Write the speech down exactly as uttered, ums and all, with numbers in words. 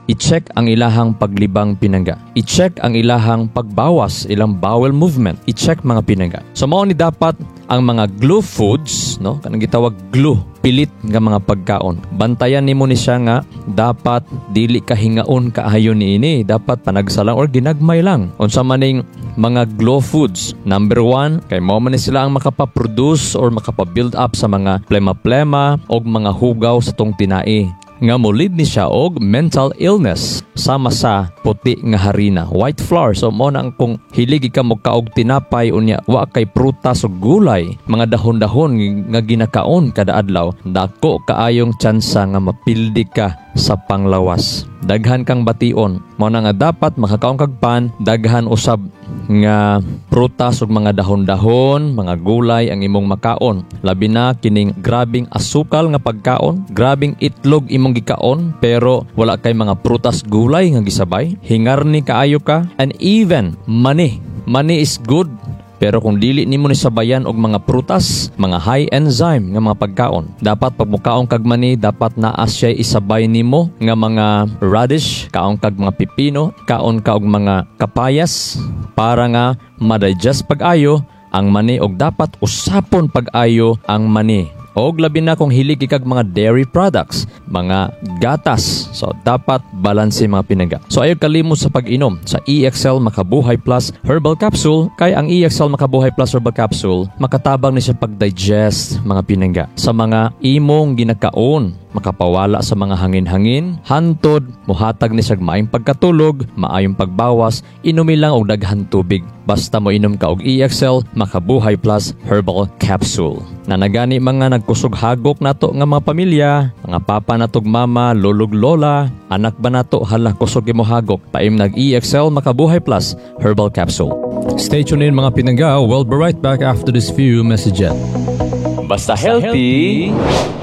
I-check ang ilahang paglibang pinangga. I-check ang ilahang pagbawas, ilang bowel movement. I-check mga pinangga. So mao ni dapat ang mga glue foods, no? Kanang gitawag glue, pilit nga mga pagkaon. Bantayan nimo ni siya nga dapat dili ka hingaon kaayo niini. Dapat panagsa lang or ginagmay lang. Unsa man ning mga glue foods. Number one, kay mao man ni sila ang makapa-produce or makapa-build up sa mga plema-plema og mga hugaw sa tong tinai nga molid ni siya og mental illness sama sa puti nga harina white flour so mo na ang kung hilig ka mo kaog tinapay unya wa kay prutas ug gulay mga dahon-dahon nga ginakaon kada adlaw dako kaayong tsansa nga mapildi ka sa panglawas daghan kang bation mao na nga dapat makakaon kag pan daghan usab nga prutas ug mga dahon-dahon, mga gulay ang imong makaon. Labi na kining grabing asukal nga pagkaon, grabing itlog imong gikaon pero wala kay mga prutas gulay nga gisabay. Hingarni kaayo ka and even mani. Mani is good pero kung dili nimo ni sabayan og mga prutas, mga high enzyme nga mga pagkaon, dapat pag mukaon kag mani, dapat naa siya isabay nimo nga mga radish, kaon kag mga pipino, kaon ka og mga kapayas para nga ma-digest pag-ayo ang mani og dapat usapon pag-ayo ang mani. Og labi na kung hilig kag mga dairy products, mga gatas. So dapat balanse mga pinangga. So ayaw kalimot sa pag-inom sa EXL Makabuhay Plus Herbal Capsule kay ang EXL Makabuhay Plus Herbal Capsule makatabang ni siya pag-digest mga pinangga sa mga imong ginakaon makapawala sa mga hangin-hangin, hantod, muhatag ni siya maayong pagkatulog, maayong pagbawas, inumi lang og daghan tubig. Basta mo inom ka og EXL Makabuhay Plus Herbal Capsule. Nanagani mga nagkusog hagok nato nga mga pamilya, mga papa natog mama, lolog lola, anak ba nato hala kusog imo hagok. Paimnag EXL Makabuhay Plus Herbal Capsule. Stay tuned in mga pinangga. We'll be right back after this few messages. Basta healthy,